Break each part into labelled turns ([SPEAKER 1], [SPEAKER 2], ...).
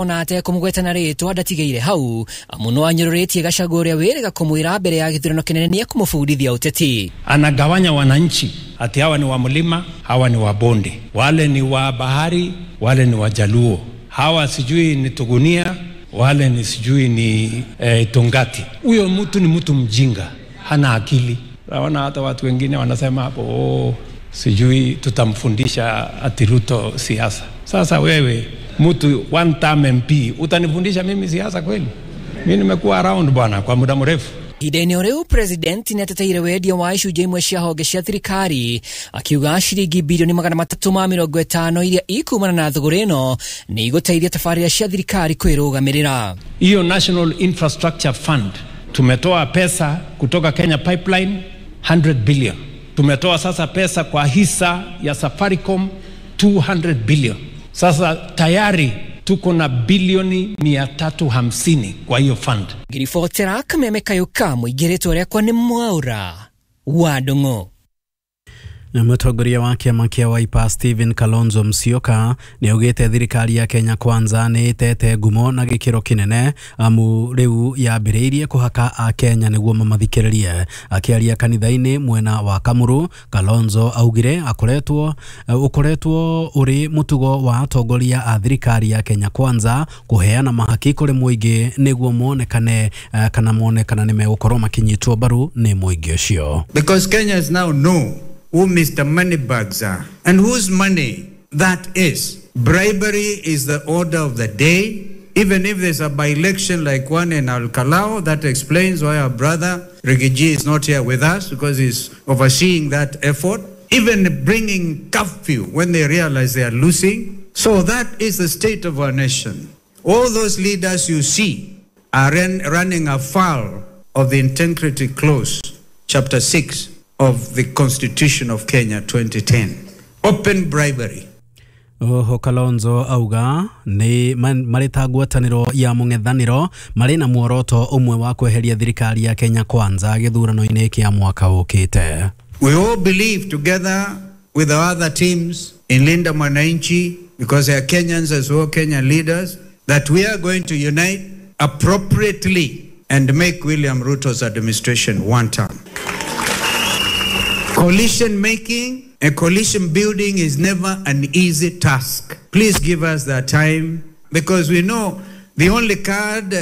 [SPEAKER 1] Ona atekũmũgweta na rĩtwa ndatigĩire hau amu no anyũrũrĩtie Gachagua ũrĩa wĩrĩga kũmwĩra mbere ya gĩthurano kĩnene nĩekũmũbundithia ũteti.
[SPEAKER 2] Anagawanya wananchi ati hawa ni wa mlima, hawa ni wa bonde, wale ni wa bahari, wale ni wa Jaluo, hawa sijui ni Tugunia, wale ni sijui ni Tungati. Huyo mtu ni mtu mjinga, hana akili. Naona hata watu wengine wanasema hapo, oh, sijui tutamfundisha ati Ruto siasa. Sasa wewe mtu one term MP utanifundisha mimi siasa kweli? Mimi nimekuwa around bwana kwa muda mrefu.
[SPEAKER 1] Ihinda-inĩ o rĩu president nĩateteire wendia wa icunjĩ imwe cia honge cia thirikari akiuga ciringi bilioni 350 iria ikumana na thũgũrĩ ĩno nĩ igũteithia tabarĩra cia thirikari kwĩrũgamĩrĩra.
[SPEAKER 2] Hiyo National Infrastructure Fund tumetoa pesa kutoka Kenya Pipeline 100 billion. Tumetoa sasa pesa kwa hisa ya Safaricom 200 billion. Sasa tayari tuko na bilioni 350 kwa hiyo fund.
[SPEAKER 1] Ngiribotera Kameme Kayuka mũingĩ rĩtwa rĩakwa nĩ Mwaura wa Ndung'u.
[SPEAKER 3] Mũtongoria wa kĩama kĩa Wiper Stephen Kalonzo Musyoka nĩ augĩte thirikari ya Kenya Kwanza nĩ ĩtete ngumo na gĩkĩro kĩnene amu rĩu yambĩrĩirie kũhaka akenya nĩguo mamathikĩrĩrie. Akĩaria kanitha-inĩ mwena wa Kamuru, Kalonzo augire ũkoretwo ũrĩ mũtugo wa atongoria a thirikari ya Kenya Kwanza kũheana mahaki kũrĩ mũingĩ nĩguo monekane kana monekana nĩ megũkorwo makĩnyitwo mbaru nĩ mũingĩ ũcio.
[SPEAKER 4] Because Kenyans now know who Mr. Moneybags are and whose money that is. Bribery is the order of the day. Even if there's a by-election like one in Al-Kalau, that explains why our brother Rigiji is not here with us, because he's overseeing that effort. Even bringing curfew when they realize they are losing. So that is the state of our nation. All those leaders you see are running afoul of the Integrity Clause, Chapter 6 of the Constitution of Kenya 2010. Open bribery.
[SPEAKER 3] Oho Kalonzo auga nĩ marĩ ta ngwatanĩro ya mũng'ethanĩro marĩ na muoroto ũmwe wa kweheria thirikari ya Kenya Kwanza gĩthurano-inĩ kĩa mwaka ũkĩte.
[SPEAKER 4] We all believe together with our other teams in Linda Mwananchi, because they are Kenyans as well, Kenyan leaders, that we are going to unite appropriately and make William Ruto's administration one term. Coalition making and coalition building is never an easy task. Please give us that time, because we know the only card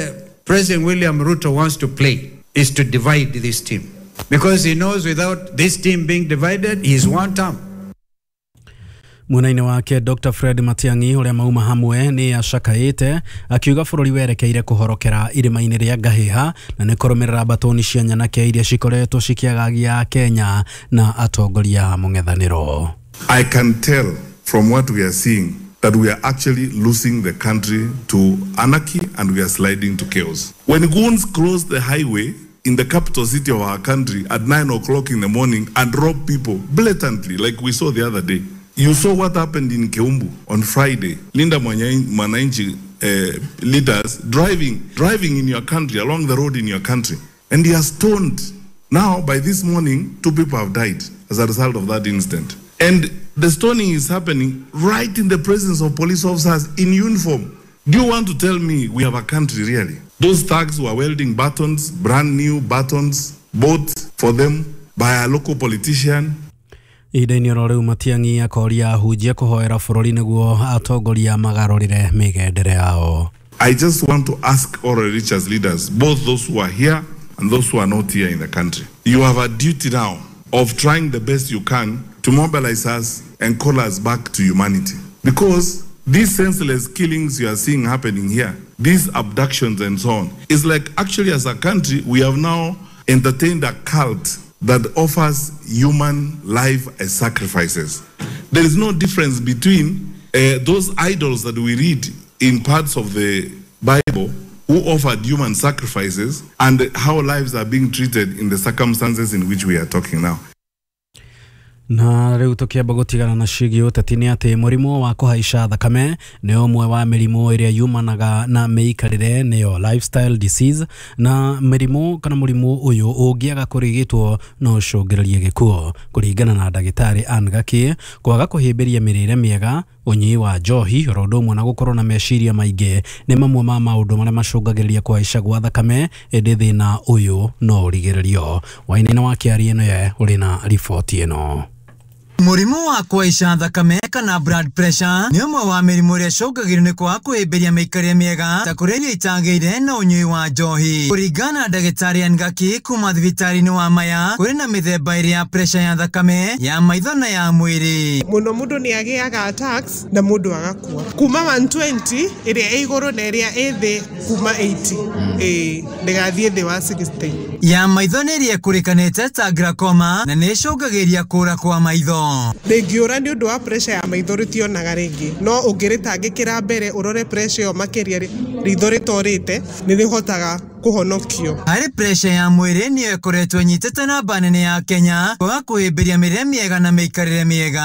[SPEAKER 4] President William Ruto wants to play is to divide this team. Because he knows without this team being divided, he's one term.
[SPEAKER 3] Mwena-inĩ wake Dr. Fred Matiang'i ũrĩa mauma hamwe nĩ acakaĩte akiuga bũrũri werekeire kũhorokera irĩma-inĩ rĩa Ngahĩha na nĩ kũrũmĩrĩra mbatũni cia nyanake iria cikoretwo cikĩagagia Kenya na atongoria mũng'ethanĩro.
[SPEAKER 5] I can tell from what we are seeing that we are actually losing the country to anarchy and we are sliding to chaos. When goons cross the highway in the capital city of our country at 9 o'clock in the morning and rob people blatantly, like we saw the other day. You saw what happened in Keumbu on Friday. Linda Mwananchi leaders driving in your country, along the road in your country, and they are stoned. Now, by this morning, 2 people have died as a result of that incident. And the stoning is happening right in the presence of police officers in uniform. Do you want to tell me we have a country, really? Those thugs were welding buttons, brand new buttons, bought for them by a local politician.
[SPEAKER 3] Ihinda-inĩ oro rĩu Matiang'i akoria ahunjia kũhoera bũrũri nĩguo atongoria magarũrĩre mĩgendere yao.
[SPEAKER 5] I just want to ask all religious leaders, both those who are here and those who are not here in the country. You have a duty now of trying the best you can to mobilize us and call us back to humanity. Because these senseless killings you are seeing happening here, these abductions and so on, it's like actually as a country we have now entertained a cult that offers human life as sacrifices. There is no difference between those idols that we read in parts of the Bible who offered human sacrifices and how lives are being treated in the circumstances in which we are talking now.
[SPEAKER 3] Na rĩu tũkĩamba gũtigana na ciĩgiĩ ũteti nĩ atĩ mũrimũ wa kũhaica thakame nĩ ũmwe wa mĩrimũ ĩrĩa yumanaga na mĩikarĩre, nĩyo lifestyle disease, na mĩrimũ kana mũrimũ ũyũ ũngĩaga kũrigitwo no ũcũngĩrĩrie gĩkuũ. Kũringana na ndagĩtarĩ Ann Gaki, kwaga kũhĩmbĩria mĩrĩre mĩega, ũnyui wa njohi oro ũndũ ũmwe na gũkorwo na meciria maingĩ nĩ mamwe ma maũndũ marĩa macũngagĩrĩria kũhaica gwa thakame, ĩndĩ thĩna ũyũ no ũrigĩrĩrio. Wainaina wa Kĩarie nĩwe ũrĩ na riboti ĩno.
[SPEAKER 6] Mũrimũ wa kũhaica thakame kana blood pressure nĩ ũmwe wa mĩrimũ ĩrĩa ĩcũngagĩrĩrio nĩ kwaga kũhĩmbĩria mĩikarĩre mĩega ta kũrĩa irio itagĩrĩire na ũnyui wa njohi. Kũringana na ndagĩtarĩ Ann Gaki kuma thibitarĩ-inĩ wa Maya, kũrĩ na mĩthemba ĩrĩ ya pressure ya thakame, ya maitho na ya mwĩrĩ.
[SPEAKER 7] Mũno mũndũ nĩ agĩaga attacks na mũndũ agakua. Kuma 120 ĩrĩa ĩ igũrũ na ĩrĩa ĩ thĩ kuma 80. Ndĩgathiĩ thĩ wa 60.
[SPEAKER 6] Ya maitho nĩ ĩrĩa ĩkũrĩkanĩte ta glaucoma na nĩ ĩcũngagĩrĩria kũra kwa maitho.
[SPEAKER 7] Rĩngĩũra nĩ ũndũ wa pressure ya maitho rĩtionaga rĩngĩ, no ũngĩrĩtangĩkĩra mbere ũrore pressure ĩyo makĩria ritho rĩtorĩte nĩ rĩhotaga kũhonokio.
[SPEAKER 6] Harĩ pressure ya mwĩrĩ nĩyo ĩkoretwo ĩnyitĩte namba nene ya Kenya kwaga kũhĩmbĩria mĩrĩre mĩega na mĩikarĩre mĩega.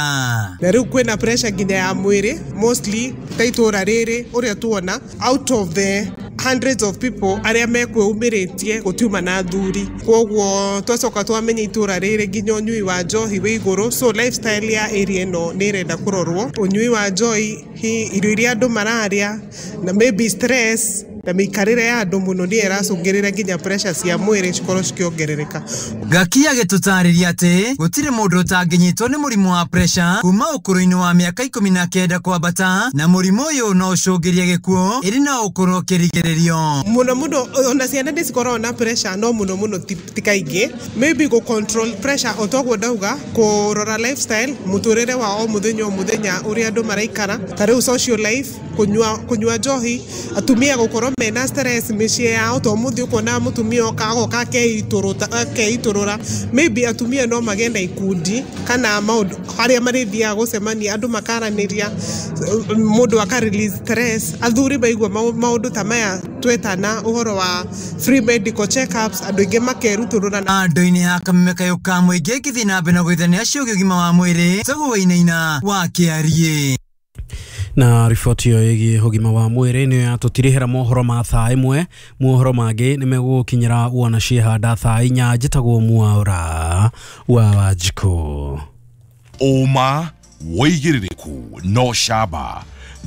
[SPEAKER 7] Na rĩu kwĩna pressure nginya ya mwĩrĩ mostly ta itũra rĩrĩ ũrĩa tuona out of the hundreds of people arĩa mekwĩumĩrĩtie gũtiuma na athuri, koguo twacoka twamenya itũra rĩrĩ nginya ũnyui wa njohi wĩ igũrũ, so lifestyle ya area ĩno nĩ ĩrenda kũrorwo. Ũnyui wa njohi, irio iria andũ mararĩa na maybe stress na mĩikarĩre ya andũ mũno nĩyo ĩracũngĩrĩra nginya pressure cia mwĩrĩ cikorwo cikĩongerereka.
[SPEAKER 6] Gaki agĩtũtarĩria atĩ gũtirĩ mũndũ ũtangĩnyitwo nĩ mũrimũ wa pressure kuma ũkũrũ-inĩ wa mĩaka 19 kwambata, na mũrimũ ũyũ no ũcũngĩrie gĩkuũ ĩrĩ na ũkorwo ũkĩrigĩrĩrio.
[SPEAKER 7] Mũno mũno ona ciana nĩ cikoragwo na pressure, no mũno mũno ti kaingĩ. Maybe gũ control pressure o toguo ndauga, kũrora lifestyle, mũtũrĩre wa o mũthenya o mũthenya ũrĩa andũ maraikara, ta rĩu social life, kũnyua njohi, atumia gũkorwo mena stress mĩciĩ yao, to mũthĩ ũkona mũtumia oka agoka akeitũrũra. Maybe atumia no magĩe na ikundi kana maũndũ harĩa marĩthiaga gũcemania, andũ makaranĩria, mũndũ aka release stress. Athuri maigua maũndũ ta maya twetana ũhoro wa free medical checkups, andũ aingĩ makerutũrũra.
[SPEAKER 6] Andũ-inĩ ya Kameme kayũ ka mũingĩ ngĩthiĩ na mbere na gwĩthania ciũgiĩ ũgima wa mwĩrĩ, Tũgũ Wainaina wa Kĩariĩ.
[SPEAKER 3] Na riboti ĩyo ĩgiĩ ũgima wa mwĩrĩ nĩyo yatũtirihĩra mohoro ma thaa 1. Mohoro mangĩ nĩ megũgũkinyĩra wona ciehanda thaa 4. Njĩtagwo Mwaũra wa Wanjikũ.
[SPEAKER 8] Ũma wĩigĩrĩrĩku no camba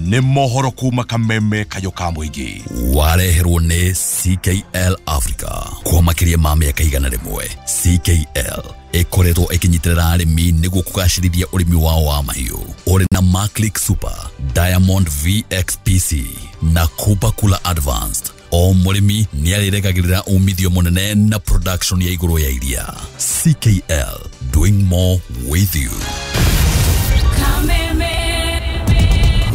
[SPEAKER 8] nĩ mohoro kuma Kameme kayũ ka mũingĩ.
[SPEAKER 9] Wareherwo nĩ CKL Africa kwa makĩria ma mĩaka 100. CKL ĩkoretwo ĩkĩnyitĩrĩra arĩmi nĩguo kũgacĩrithia ũrĩmi wao wa mahiũ. Ũrĩ na Maclick Super, Diamond VXPC na Cooper Cooler Advanced. O mũrĩmi nĩarĩrekagĩrĩra umithio mũnene na production ya igũrũ ya iria. CKL, doing more with you.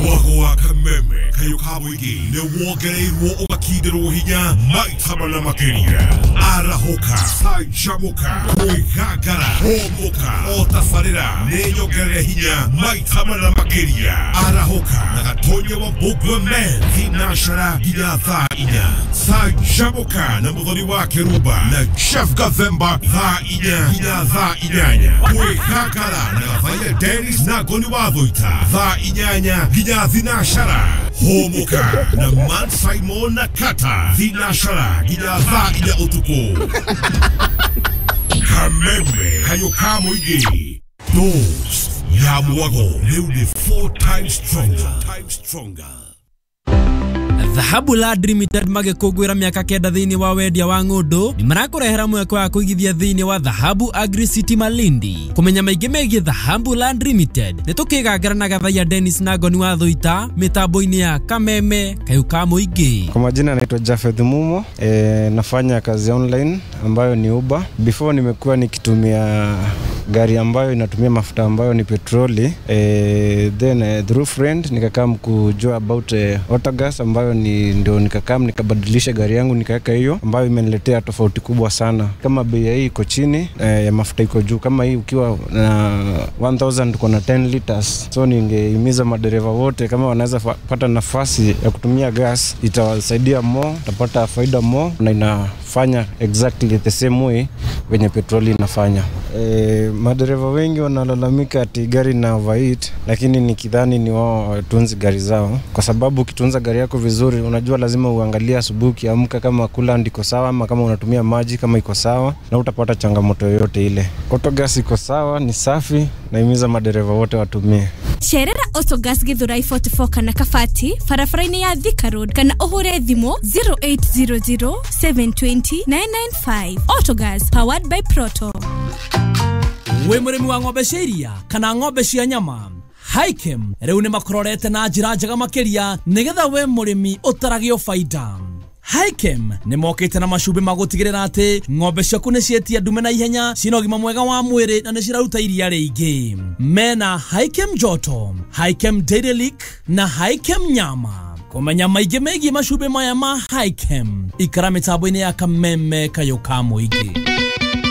[SPEAKER 8] Mwago wa Kameme kayũ ka mũingĩ nĩ wongereirwo ũgakindĩrwo hinya maita mana makĩria. Arahũka, canjamũka, kwĩgangara, hũmũka, o tabarĩra nĩ nyongerere hinya maita mana makĩria. Arahũka na Gatonya wa Mbũgua Men thinashara nginya thaa 4. Canjamũka na Mũthoni wa Kĩrumba na Chef Gathemba thaa 4 nginya thaa 8. Kwĩgangara na Gathaiya Dennis na Ngoni wa Thũita thaa 8 nginya thinashara. Hũmũka na Man Simon na Kata thinashara nginya thaa 4 ũtukũ. Kameme kayũ ka mũingĩ. Dose ya mwago rĩu nĩ 4 times stronger.
[SPEAKER 10] Dhahabu Land Limited magĩkũngũĩra mĩaka 9 thĩinĩ wa wendia wa ng'ũndũ nĩ marakũrehera mweke wa kũigithia thĩinĩ wa Dhahabu Agri City Malindi. Kũmenya maingĩ megiĩ Dhahabu Land Limited nĩ tũkĩgangara na Gathaiya Dennis na Ngoni wa Thũita mĩtambo-inĩ ya Kameme kayũ ka mũingĩ.
[SPEAKER 11] Kwa majina naitwa Jafeth Mumo, nafanya kazi online ambayo ni Uber. Before nimekuwa nikitumia gari ambayo inatumia mafuta ambayo ni petroli, then through friend nikakam kujua about Autogas ambayo ni ndio nikakam nikabadilisha gari yangu nikaweka hiyo ambayo imeniletea tofauti kubwa sana. Kama bei hii iko chini, ya mafuta iko juu. Kama hii ukiwa na 1000 uko na 10 liters. So ningehimiza madereva wote kama wanaweza pata nafasi ya kutumia gas, itawasaidia more, utapata faida more na inafanya exactly the same way venye petroli inafanya. Madereva wengi wanalalamika ati gari na overheat, lakini nikidhani ni wao watunzi gari zao, kwa sababu ukitunza gari yako vizuri, unajua lazima uangalie asubuhi ukiamka kama coolant iko sawa ama kama unatumia maji kama iko sawa, na utapata changamoto yoyote ile. Autogas iko sawa, ni safi, naimiza madereva wote watumie.
[SPEAKER 12] Cerera Autogas Githurai 44 kana Kabati barabara-inĩ ya Thika Road kana ũhũre thimũ 0800 720 995. Autogas powered by Proto.
[SPEAKER 10] Wĩ mũrĩmi wa ng'ombe cia iria kana ng'ombe cia nyama, Hikem rĩu nĩ makũrorete na njĩra njega makĩria nĩgetha we mũrĩmi ũtaragio baida. Hikem nĩ mokĩte na macumbĩ ma gũtigĩrĩra atĩ ng'ombe ciaku nĩ cietia ndume na ihenya, ciĩna ũgima mwega wa mwĩrĩ na nĩ ciraruta iria rĩingĩ. Mena Hikem Joto, Hikem Dairy Lick na Hikem Nyama. Kũmenya maingĩ megiĩ macumbĩ maya ma Hikem, ikara mĩtambo-inĩ ya Kameme Kayũ ka Mũingĩ.